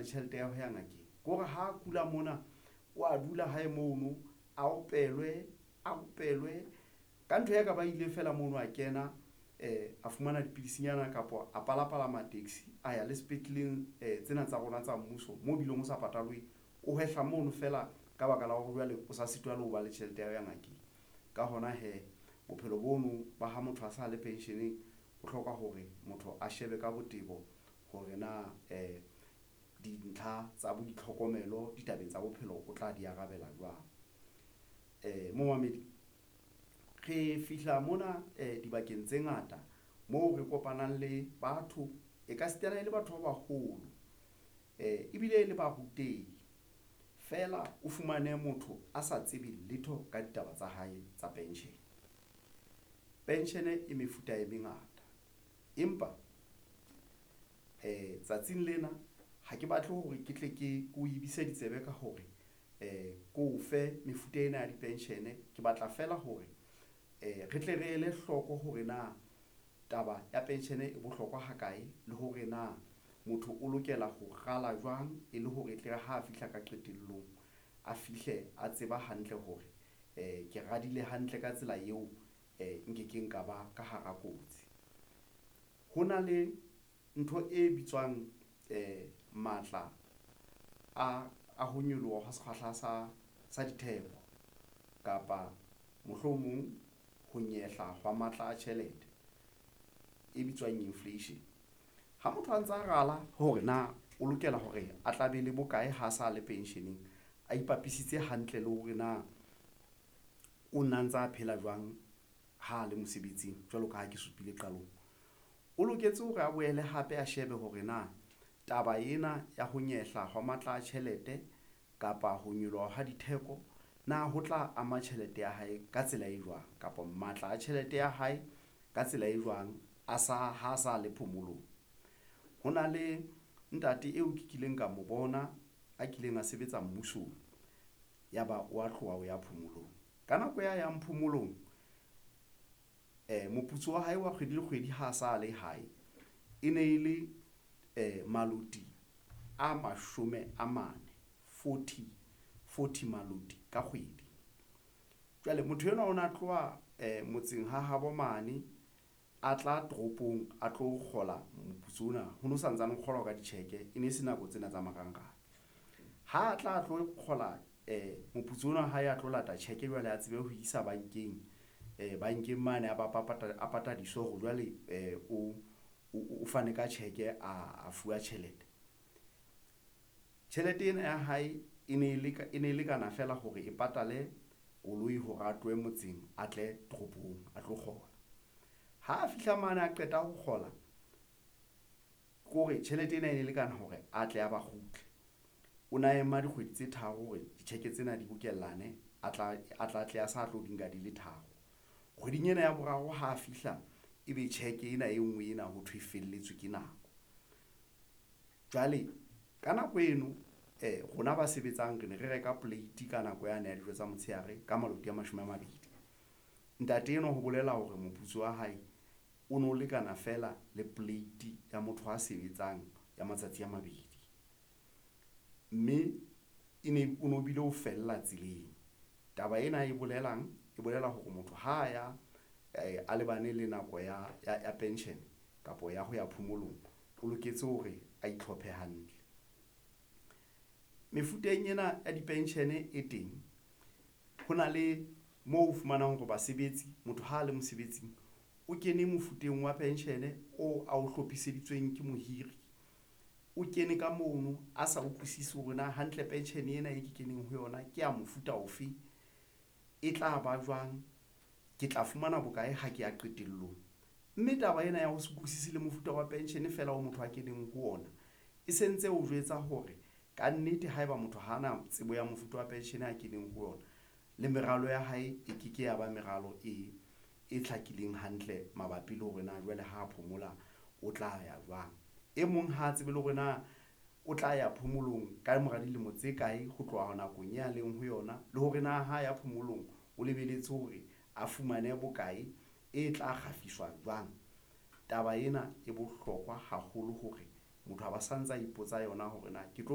tjhelete ya ho ya ngakeng. Ke hore ha kula mona o a dula hae mono, a opelwe, a opelwe ka ntho ya ka ba ile feela mono a kena a fumana dipidisinyana kapa a palapalama taxi a ya le sepetleleng tsena tsa rona tsa mmuso mo bileng ho sa patalweng. O hwehla mono feela ka baka la hore jwale o sa sitwa le ho ba le tjhelete ya ho ya ngakeng. Ka hona hee bophelo bono ba ha motho a sa le pension-eng ho hloka hore motho a shebe ka botebo hore na dintlha tsa boitlhokomelo ditabeng tsa bophelo o tla di arabela jwang. Momamedi re fihla mona dibakeng tse ngata moo re kopanang le batho e ka sitana le batho ba baholo ebile le barutehi feela o fumane motho a sa tsebe letho ka ditaba tsa hae tsa pension. Pension e mefuta e mengata, empa tsatsing lena ha ke batle hore ke tle ke ko ebise ditsebe ka hore ko fe mefuta ena ya di-pension. Ke batla feela hore re tle re ele hloko hore na taba ya pension e bohlokwa ha kae, le hore na motho o lokela ho rala jwang e le hore e tle re ha fihla ka qetellong, a fihle a tseba hantle hore ke radile hantle ka tsela eo nkekeng ka ba ka hara kotsi. Ho na le ntho e bitswang matla a ho nyoloha hwa sekgahla sa ditheko kapa mohlomong ho nyehla hwa matla a tjhelete e bitswang inflation. Ha motho a ntsa rala hore na o lokela hore a tla be le bokae ha sa le pension-eng, a ipapisitse hantle le hore na o na ntsa phela jwang ha le mosebetsing jwalo ka ha ke supile qalong. O loketse hore a boele hape a shebe hore na taba ena ya ho nyehla hwa matla a tjhelete kapa ho nyoloha ha ditheko na ho tla ama tjhelete ya hae ka tsela e jwang kapa matla a tjhelete ya hae ka tsela e jwang a sa ha sa le phomolong. Ho na le ntate eo ke kileng ka mo bona a kileng a sebetsa mmusong, ya ba wa tloha o ya phomolong ka nako ya yang phomolong. Moputso wa hae wa kgwedi le kgwedi ha sa le hae e ne e le maloti a 40, 40 maloti ka kgwedi. Jwale motho enwa o na tloha motseng ha habo mane a tla toropong, a tlo kgola moputso ona ho no santsane ho kgolwa ka ditjheke, e ne se nako tsena tsa marangrang. Ha tla tlo kgola moputso ona wa hae a tlo lata tjheke jwale a tsebe ho isa bankeng bankeng mane a ba a patadiswe hore jwale o fane ka tjheke a fuwa tjhelete. Tjhelete ena ya hae e ne e e ne e lekana feela hore e patale koloi hore a tlohe motseng a tle toropong a tlo kgola. Ha a fihla mane a qeta ho kgola ke hore tjhelete ena e ne lekana hore atle a ba kgutle. O na ema dikgwedi tse tharo hore ditjheke tsena di bokellane a tla tle a sa tlo di nka di le tharo. Kgweding ena ya boraro ha fihla ebe tjheke ena e nngwe ena ho thwe e felletswe ke nako. Jwale ka nako eno rona ba sebetsang re ne re reka plate ka nako yane ya dijo tsa motshehare ka maloti a 20. Ntate enwa ho bolela hore moputso wa hae o no lekana feela le plate ya motho a sebetsang ya matsatsi a mabedi, mme e ne o no bile o fella tseleng. Taba ena e bolelang e bolela hore motho ha ya a lebane le nako ya pension kapa ya ho ya phomolong, o loketse hore a itlhophe hantle. Mefuteng ena ya di-pension e teng, ho na le moo o fumanang hore basebetsi motho ha a le mosebetsing o kene mofuteng wa pension o ao hlophiseditsweng ke mohiri. O kene ka mono a sa utlwisisi hore na hantle pension ena e ke keneng ho yona ke ya mofuta ofe, e tla ba jwang, ke tla fumana bokae ha ke ya qetellong, mme taba ena ya ho se utlwisisi le mofuta wa pension feela o motho a keneng ho ona e sentse o jwetsa hore kannete haeba motho ha ana tsebo ya mofuta wa pension a keneng ho yona le meralo ya hae e ke ke ya ba meralo e hlakileng hantle mabapi le hore na jwale ha phomola o tla ya jwang. E mong ha tsebe le hore na o tla ya phomolong ka mora dilemo tse kae ho tloha nakong ya leng ho yona, le hore na ha ya phomolong, o lebelletse hore a fumane bokae e tla kgafiswa jwang. Taba ena e bohlokwa haholo hore motho a ba santsa ipotsa yona hore na ke tlo.